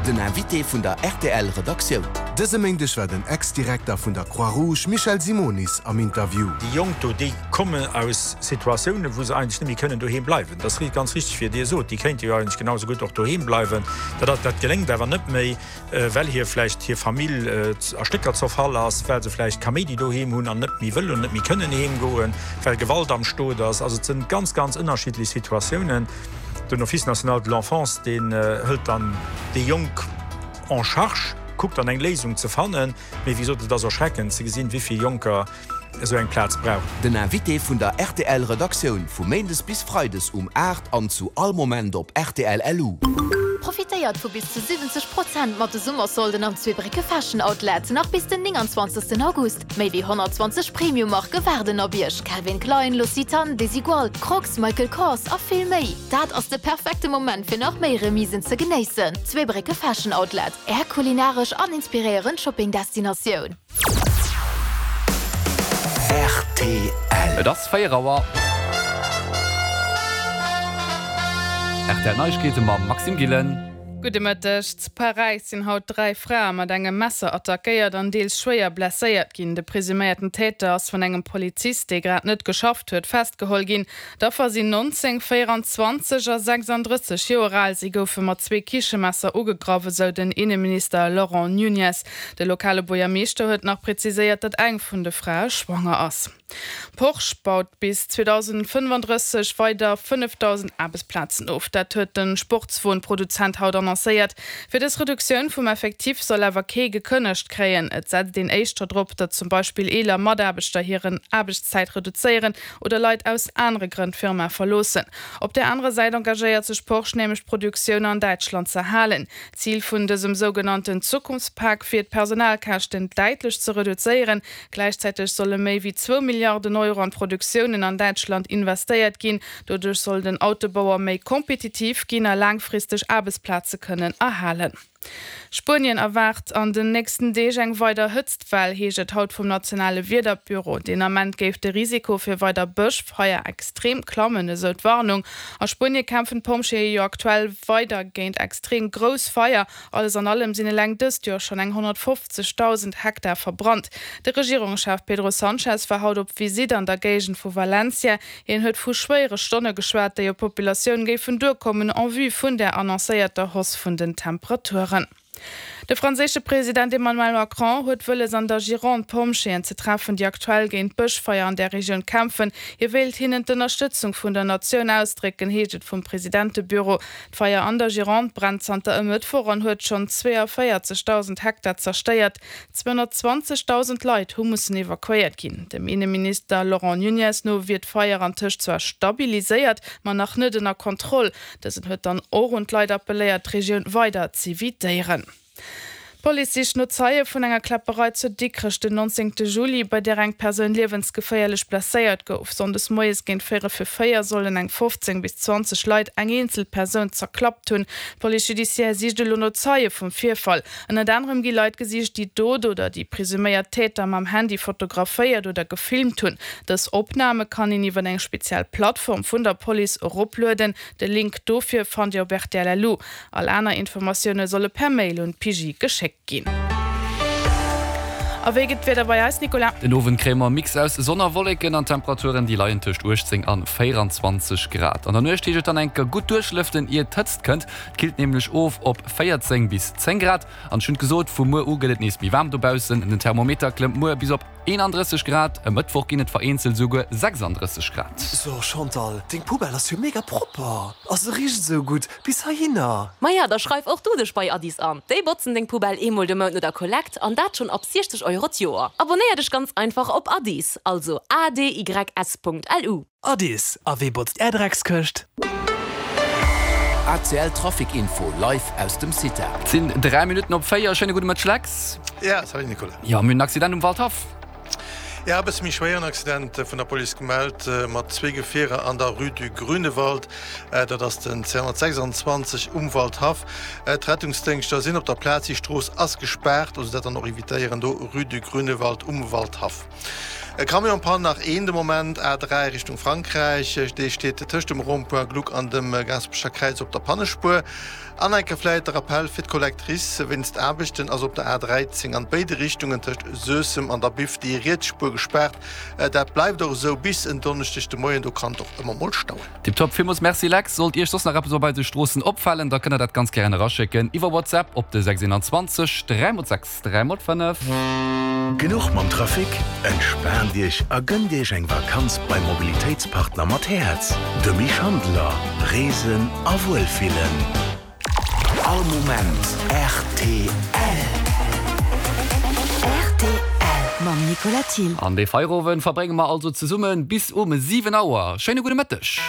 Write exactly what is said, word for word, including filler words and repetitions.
Den Invité vun der rtl Redaktioun. Dëse Méindeg war den Ex-Direkter vun der Croix-Rouge Michel Simonis am Interview. Déi Jonk do, déi kommen aus Situatiounen, wou se eigentlech net méi kënnen doheem bleiwen. Dat ass ganz richteg, wéi Dir sot, déi kéinte jo eigentlech genau sou gutt och doheem bleiwen. Dat, dat geléngt awer net méi, well hir vläicht hir Famill a Stécker zerfall ass, well se vläicht Kaméidi doheem hunn an net méi wëllen, net méi kënnen heem goen, well Gewalt am Stot ass. Also et sinn ganz, ganz ënnerschiddlech Situatiounen. Den Office national de l'enfance, deen hëlt dann déi Jonk en charge, kuckt dann eng Léisung ze fannen. Mee wéi gesot, et ass erschreckend ze gesinn, wéi vill Jonker esou eng Plaz brauchen. Den Invité vun der rtl Redaktioun vu Méindes bis Freides um aacht an zu all Moment op rtl L U. Profitéiert vu bis zu siwwenzeg Prozent mat de Summersolden am Zweebrécke Fashion Outlet, nach bis den nénganzwanzegsten August. Méi wéi honnertzwanzeg Premium-Marke waarden op Iech, Calvin Klein, L'Occitane, Desigual, Crocs, Michael Kors a vill méi. Dat ass de perfekte Moment fir nach méi Remisen ze genéissen. Zweebrécke Fashion Outlet, Är kulinaresch an inspiréierend Shopping-Destinatioun. Rtl. Et ass véier Auer. Rtl Neiegkeete mam Maxime Gillen. Gudde Mëtteg. Zu Paräis sinn haut dräi Frae mat engem Messer attackéiert an deels schwéier blesséiert ginn. De presuméierten Täter ass vun engem Polizist, dee grad net geschafft huet, festgeholl ginn. D'Affer sinn nonzéng, véieranzwanzeg a sechsanddrësseg Joer al. Si goufe mat zwee Kichemesser ugegraff, esou den Inneminister Laurent Nunez. De lokale Buergermeeschter huet nach präziséiert, datt eng vun de Frae schwanger ass. Porsche baut bis zweedausendfënnefandrësseg weider fënnefdausend Aarbechtsplazen of. Dat huet de Sportswon-Produzent haut annoncéiert. Fir dës Reduktioun vum Effectif soll awer kee gekënnegt kréien. Et setzt een éischter drop, datt zum Beispill eeler Mataarbechter hiren Aarbechtszäit reduzéieren oder Leit aus anere Grënn d'Firma verloossen. Op där anerer Säit engagéiert sech Porsche nämlech d'Produktioun an Däitschland z'erhalen. Zil vun dësem sougenannten Zukunftspak wier d'Personalkäschten däitlech ze reduzéieren. Gläichzäiteg solle méi wéi zwou Milliarden Euro an d'Produktiounen an Däitschland investéiert ginn. Doduerch soll den Autobauer méi kompetitiv ginn a laangfristeg Aarbechtsplaze kënnen erhalen. Spuenien erwaart an den nächsten Deeg eng weider Hëtztwell, heescht et haut vum nationale Wiederbüro. Deen Ament géif de Risiko fir weider Bëschfeier extrem klammen, esou d'Warnung. A Spuenie kämpfen d'Pompjeeë jo aktuell weider géint extrem grouss Feier. Alles an allem sinn eleng dëst Joer schonn eng honnertfofzegdausend Hektar verbrannt. De Regierungschef Pedro Sanchez war haut op Visitt an der Géigend vu Valencia. Hien huet vu schwéiere Stonne geschwat, déi op d'Populatioun géifen duerkommen en vue vun der annoncéierter Hausse vun den Temperaturen. De franséische President Emmanuel Macron huet wëlles an der Gironde Pompjeeën ze treffen, déi aktuell géint d'Bëschfeier an där Regioun kämpfen. Hie wéilt hinnen d'Ënnerstëtzung vun der Natioun ausdrécken, heescht et vum Presidentebüro. D'Feier an der Gironde brennt zanter e Mëttwoch an huet schonn zweeënvéierzegdausend Hektar zerstéiert. Zweehonnertzwanzegdausend Leit hu mussen evakuéiert ginn. Dem Inneminister Laurent Nunez no wier d'Feier antëscht zwar stabiliséiert, ma nach net ënner Kontroll. Dësen huet dann och un d'Leit appelléiert, d'Regioun weider z'evitéieren. D'Police sicht no Zeie vun enger Kläpperei zu Dikrech den nonzéngte Juli, bei där eng Persoun liewensgeféierlech blesséiert gouf. Sonndes moies géint véierel fir véier sollen eng fofzéng bis zwanzeg Leit eng eenzel Persoun zerklappt hunn. D'Police judiciaire sicht elo no Zeie vum Virfall. Ënnert anerem gi Leit gesicht, déi d'Dot oder déi presuméiert Täter mam Handy fotograféiert oder gefilmt hunn. Dës Opname kann een iwwer eng speziell Plattform vun der Police eroplueden. De Link dofir fannt Dir op rtl.lu. All aner Informatioune solle per Mail un d'P J geschéckt ginn. A wéi gëtt d'Wieder bei eis, Nicolas? Den Owend kréie mer e Mix aus Sonn a Wolleken an Temperaturen, déi leien tëscht uechtzéng an véieranzwanzeg Grad. An der Nuecht heescht et dann eng Kéier gutt duerchlëften, ier d'Hëtzt kënnt. Et killt nämlech of op véierzéng bis zéng Grad. An ech hunn et gesot, vu muer u gëtt et nees méi waarm dobaussen. Den Thermometer klëmmt muer bis op eenandrësseg Grad, e Mëttwoch ginn et vereenzelt esouguer sechsanddrësseg Grad. So Chantal, deng Poubelle ass jo mega propper a se richt esou gutt bis heihinner. Maja, da schreif och du dech bei Addis an. Déi botzen deng Poubelle eemol de Mount no der Kollekt an dat schonn ab siechzeg Euro d'Joer. Abonnéier dech ganz einfach op Addis, also A D Y S Punkt L U. Addis, a wee botzt är Dreckskëscht? A C L Trafic Info live aus dem Cita. Et sinn dräi Minutten op véier. Schéine gudde Mëtteg Lex. Ja, salut Nicolas. Jo, mir hunn en Accident um Waldhaff. Ja, e bësse méi schwéieren Accident vun der Police gemellt mat zwee Gefierer an der Rue du Grünewald. Dat ass den zweehonnertsechsandzwanzeg um Waldhaff. D'Rettungsdéngschter sinn op der Plaz, déi Strooss ass gespaart, also dat dann och evitéieren do, Rue du Grünewald um Waldhaff. E Camion en panne nach een de Moment, A dräi Richtung Frankräich, dee steet tëscht dem Rond-point Gluck an dem Gaasperecher Kräiz op der Pannespuer. An eng Kéier vläit de Rappell fir d'Collectrice, Wéinst Aarbechten ass op der A dräizéng an béide Richtungen tëscht Suessem an der Biff déi riets Spuer gespaart. Dat bleift och esou bis en Donneschdeg de Moien, do kann et och ëmmer mol stauen. Tiptop, villmools Merci Lex. Sollt Iech soss nach eppes op eise Stroossen opfalen, da kënnt der dat ganz gären eraschécken iwwer WhatsApp op de sechs een zwanzeg dräi mol sechs dräi mol fënnef. Genuch mam Trafic? Entspaant Iech a gënnt Iech eng Vakanz beim Mobilitéitspartner mat Häerz, de Mich Handeler. Reesen a Wuelfillen. All Moment rtl. Rtl mam Nicolas Thill. An dee Feierowend verbrénge mer also zesumme bis um siwen Auer. Schéine gudde Mëtteg.